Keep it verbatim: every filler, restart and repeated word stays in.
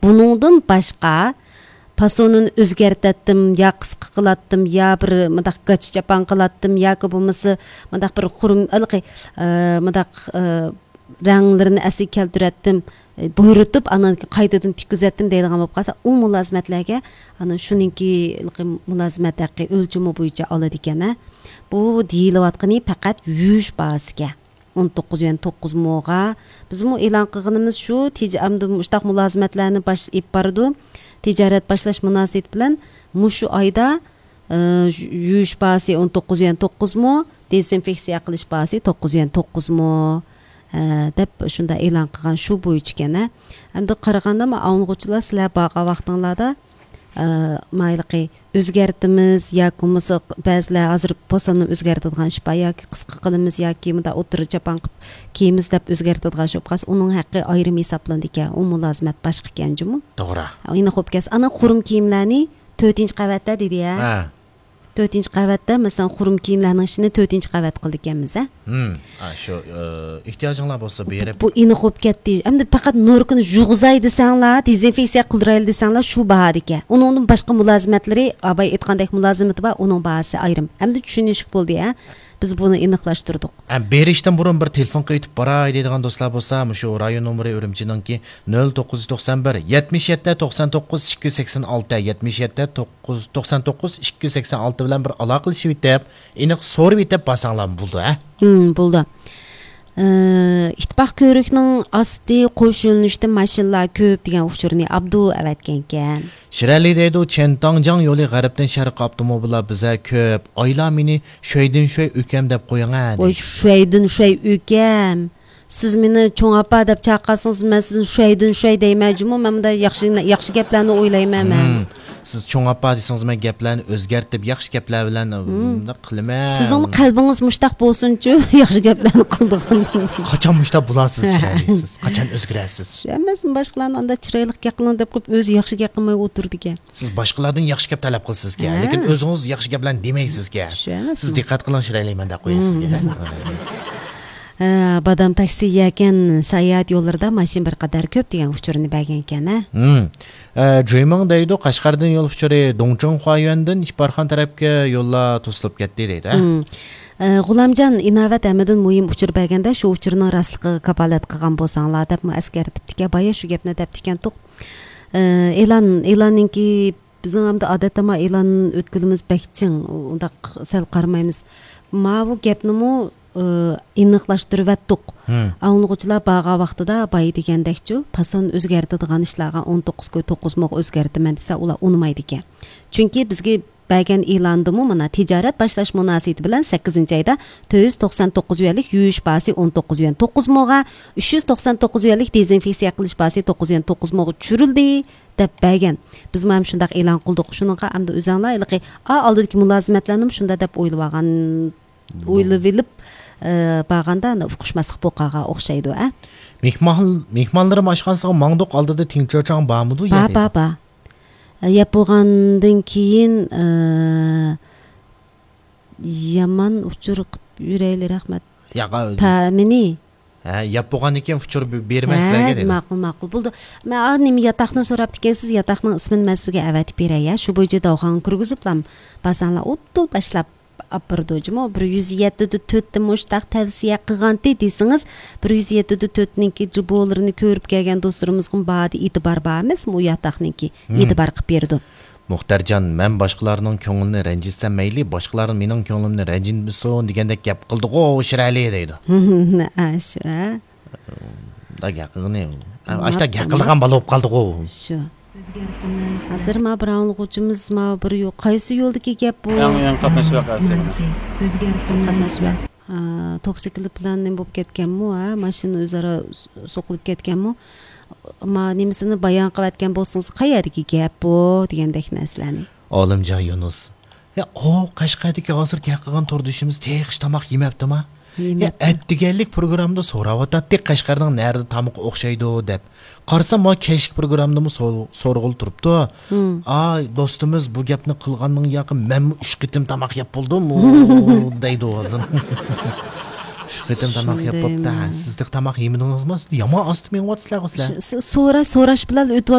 بۇنىڭدىن باشقا پاسونىنى ئۆزگەرتەتتىم، يا قىسقا قىلاتتىم، يا بىر مۇنداق گاچا چاپان قىلاتتىم، ياكى بولمىسا مۇنداق بىر خۇرۇم، ھېلىقى، ئە، مۇنداق، ئە، رەڭلىرىنى ئەسلىگە كەلتۈرەتتىم، ئە، بۇيرۇتۇپ، ئاندىن قايتىدىن تىككۈزەتتىم دەيدىغان بولۇپ قالسا، ئۇ مۇلازىمەتلەرگە، ئانا، شۇنىڭكى ھېلىقى مۇلازىمەت ھەققى ئۆلچىمى بويىچە ئالىدىكەن، ھە. بۇ دېيىلىۋاتقىنى پەقەت يۇيۇش باھاسىكەن. ئون توققۇز يۈەن توققۇز موغا. بىزمۇ ئېلان قىلغىنىمىز شۇ، تېجە ئەمدى مۇشۇنداق مۇلازىمەتلەرنى باش-، ئېلىپ بارىدۇ. تىجارەت باشلاش مۇناسىۋىتى بىلەن مۇشۇ ئايدا، ئى، يۇيۇش باھاسى ئون توققۇز يۈەن توققۇز مو، دېزىنفېكسىيە قىلىش باھاسى توققۇز يۈەن توققۇز مو، ئە، دەپ شۇنداق ئېلان قىلغان شۇ بويىچىكەن، ھە. ئەمدى قارىغاندا، ما ئاۋۇنغۇچىلار سىلەر بارغان ۋاقتىڭلاردا، ئە، مايلىقى ئۆزگەرتىمىز ياكى بولمىسا بەزىلەر ھازىر پوساننى ئۆزگەرتىدىغان ئىش بار، ياكى قىسقا قىلىمىز ياكى مۇنداق ئوتتۇرا چاپان قىلىپ كىيىمىز دەپ ئۆزگەرتىدىغان ئىش بولۇپ قالسا، ئۇنىڭ ھەققى ئايرىم ھېسابلىنىدىكەن. ئۇ مۇلازىمەت باشقىكەن جۇمۇ. توغرا. ئېنىق بولۇپ كەلسە، ئانا خۇرۇم كىيىملەرنى تۆتىنچى قەۋەتتە دېدى يا. ھە. تۆتىنچى قەۋەتتە، مەسىلەن، خۇرۇم كىيىملەرنىڭ ئىشىنى تۆتىنچى قەۋەت قىلىدىكەنمىز، ھە؟ ھىم. ھە، شۇ، ئى، ئېھتىياجىڭلار بولسا بېرىپ. بۇ ئېنىق بولۇپ كەتتى. ئەمدى پەقەت نوركىنى يۇغۇزاي دېسەڭلار، دېزىنفېكسىيە قىلدۇرايلى دېسەڭلار، شۇ باھادىكەن. ئۇنىڭدىن باشقا مۇلازىمەتلىرى، ئاباي ئېيتقاندەك مۇلازىمىتى بار، ئۇنىڭ باھاسى ئايرىم. ئەمدى چۈشىنىشلىك بولدى، ھە؟ بىز بۇنى ئېنىقلاشتۇردۇق. ھە، بېرىشتىن بۇرۇن بىر تېلېفون قىلىۋېتىپ باراي دەيدىغان دوستلار بولسا، مۇشۇ رايون نومۇرى ئۈرۈمچىنىڭكى نۆل توققۇز يۈز توقسان بىر، يەتمىش يەتتە، توقسان توققۇز، ئىككى يۈز سەكسەن ئالتە، يەتمىش يەتتە، توققۇز، توقسان توققۇز، ئىككى يۈز سەكسەن ئالتە بىلەن بىر ئالاقىلىشىۋېتىپ، ئېنىق سورىۋېتىپ بارساڭلارمۇ بولىدۇ، ھە؟ ھىم، بولىدۇ. ئى، ئىتتىپاق كۆۋرۈكنىڭ ئاستى قوش يۆنىلىشتە ماشىنىلار كۆپ دېگەن ئۇچۇرنى ئابدۇ ئەۋەتكەنكەن. شىرئەلى دەيدۇ، چيەنتاڭجياڭ يولى غەربتىن شەرققە ئاپتوموبىللار بىزە كۆپ. ئايلار مېنى شۈەيدىن شۈەي ئۆكەم دەپ قويۇڭە، ۋاي، دەيدۇ. شۈەيدىن شۈەي ئۆكەم. سىز مېنى چوڭ ئاپا دەپ چاقىرسىڭىز، مەن سىزنى شۈەيدىن شۈەي دەيمەن جۇمۇ. مەن مۇنداق ياخشى، ياخشى گەپلەرنى ئويلايمەن مەن. ھىم. سىز چوڭ ئاپا دېسىڭىز، مەن گەپلەرنى ئۆزگەرتىپ، ياخشى گەپلەر بىلەن، ھىم، مۇنداق قىلىمەن. سىزنىڭمۇ قەلبىڭىز مۇشتاق بولسۇنچۇ، ياخشى گەپلەرنى قىلىدىغان. قاچان مۇشتاق بولارسىز، چىرايلىق سىز؟ قاچان ئۆزگىرەرسىز؟ شۇ ئەمەسمۇ، باشقىلارنى ئانداق چىرايلىق گەپ قىلىڭ دەپ قويۇپ، ئۆزى ياخشى گەپ قىلماي ئولتۇرىدىكەن. سىز باشقىلاردىن ياخشى گەپ تەلەپ قىلىسىزكەن، ھە، لېكىن ئۆزىڭىز ياخشى گەپلەرنى دېمەيسىزكەن. شۇ ئەمەسمۇ؟ سىز دىققەت قىلىڭ، شىرئەلى، مەن دەپ قويىسىزكەن. ھە، بادام تاكسى يەكەن، ساياھەت يوللىرىدا ماشىنا بىر قەدەر كۆپ دېگەن ئۇچۇرنى بەرگەنكەن، ھە؟ ھىم. ئە، جۇيمىڭ دەيدۇ، قەشقەردىن يول ئۇچۇرى دۇڭچىڭ خۇايۈەندىن ئىپارخان تەرەپكە يوللار توسۇلۇپ كەتتى دەيدۇ، ھە؟ ھىم. ئە، غۇلامجان ئىناۋەت ھەممىدىن مۇھىم ئۇچۇر بەرگەندە، شۇ ئۇچۇرنىڭ راستلىقىغا كاپالەت قىلغان بولساڭلار دەپمۇ ئەسكەرتىپتىكەن. بايا شۇ گەپنى دەپتىكەنتۇق. ئە، ئېلان، ئېلاننىڭكى بىزنىڭ ئەمدى ئادەتتە ما ئېلان ئۆتكىلىمىز بەك چىڭ، ئۇنداق سەل قارىمايمىز. ماۋۇ گەپنىمۇ، ئى، ئېنىقلاشتۇرۇۋەتتۇق. ھىم. ئاڭلىغۇچىلار بارغان ۋاقتىدا بايا دېگەندەكچۇ، پاسون ئۆزگەرتىدىغان ئىشلارغا ئون توققۇز كوي توققۇز موغا ئۆزگەرتىمەن دېسە، ئۇلار ئۇنىمايدىكەن. چۈنكى بىزگە بەرگەن ئېلانىدىمۇ مانا تىجارەت باشلاش مۇناسىۋىتى بىلەن سەككىزىنچى ئايدا تۆت يۈز توقسان توققۇز يۈەنلىك يۇيۇش باھاسى ئون توققۇز يۈەن توققۇز موغا، ئۈچ يۈز توقسان توققۇز يۈەنلىك دېزىنفېكسىيە قىلىش باھاسى توققۇز يۈەن توققۇز موغا چۈشۈرۈلدى، دەپ بەرگەن. بىزمۇ ھەم شۇنداق ئېلان قىلدۇق. شۇنىڭغا ئەمدى ئۆزەڭلار ھېلىقى، ئا، ئالدىدىكى مۇلازىمەتلەرنىمۇ شۇنداق دەپ ئويلىۋالغان، ئويلىۋېلىپ، ئە، بارغاندا ئانا ئۇقۇشماسلىق بولۇپ قالغان ئوخشايدۇ، ئە. مېھمان، مېھمانلىرىم ئاشخانىسىغا ماڭدۇق، ئالدىدا تىڭچىچاڭ بارمىدۇ؟ بار، يەنى بار، بار. ئە، يەپ بولغاندىن كېيىن، ئە، يامان ئۇچۇر قىپ يۈرەيلى، رەھمەت. ياق، تەمىنى. ھە، ياپ بولغاندىن كېيىن ئۇچۇر بېرىمەن سىلەرگە، ھە، دېدى. ماقۇل، ماقۇل. بولدى. مەن، ئا، نېمە، ياتاقنى سوراپتىكەنسىز، ياتاقنىڭ ئىسمىنى مەن سىزگە ئەۋەتىپ بېرەي، يا. شۇ بويىچە داۋخانغا كىرگۈزۈپلا بارساڭلار، ئۇدۇل باشلاپ ئاپىرىدۇ جۇمۇ. بىر يۈز يەتتە دە تۆتتە مۇشتاق تەۋسىيە قىلغانتى دېسىڭىز، بىر يۈز يەتتە دە تۆتنىڭكى جۇبولىرىنى كۆرۈپ كەلگەن دوستلىرىمىزغىمۇ باھادا ئېتىبار بار ئەمەسمۇ، ئۇ ياتاقنىڭكى ھىم. ئېتىبار قىلىپ بېرىدۇ. مۇختەرجان، مەن باشقىلارنىڭ كۆڭلىنى رەنجىتسەم مەيلى، باشقىلار مېنىڭ كۆڭلۈمنى رەنجىتمىسۇن دېگەندەك گەپ قىلدىغۇ شىرئەلى دەيدۇ. ئاشۇ، ھە؟ مۇنداق گەپ قىلغىنى. ئاشتا گەپ قىلىدىغان بالا بولۇپ قالدىغۇ. شۇ. ھازىر ما بىر ئاڭلىغۇچىمىز ما بىر يو-، قايسى يولدىكى گەپ بۇ؟ يېڭى، يېڭى قاتناش ۋەقەسى. قاتناش ۋە-، ئا، توكسىكلىت بىلەن نېمە بولۇپ كەتكەنمۇ، ھە؟ ماشىنا ئۆزئارا س-، سوقۇلۇپ كەتكەنمۇ؟ ما نېمىسىنى بايان قىلىۋەتكەن بولسىڭىز، قەيەردىكى گەپ بۇ دېگەندەك نەرسىلەرنى. ئالىمجان يۇنۇس. يا، ئۇ قەشقەردىكى ھازىر گەپ قىلغان توردىشىمىز تېخىچە تاماق يېمەپتىما؟ يا، يېمەپتۇ. ئەتىگەنلىك پروگراممىدا سوراۋاتاتتى، قەشقەرنىڭ نەدە تامىقى ئوخشايدۇ دەپ. قارىسام، ما كەچلىك پروگراممىدىمۇ سور-، سورىغىلى تۇرۇپتۇ. ھىم. ئا، دوستىمىز بۇ گەپنى قىلغاندىن ياقى مەنمۇ ئۈچ قېتىم تاماق يەپ بولدۇم، دەيدۇ ھازىر. ئۈچ قېتىم تاماق يەپ بوپتۇ. شۇندايمۇ؟ سىز تېخى تاماق يېمىدىڭىزمۇ؟ سىز يامان ئاستا مېڭىۋاتىسىلەرغۇ سىلەر. س-، س-، سوراش، سوراش بىلەن ئۆتۈۋاتىدۇ.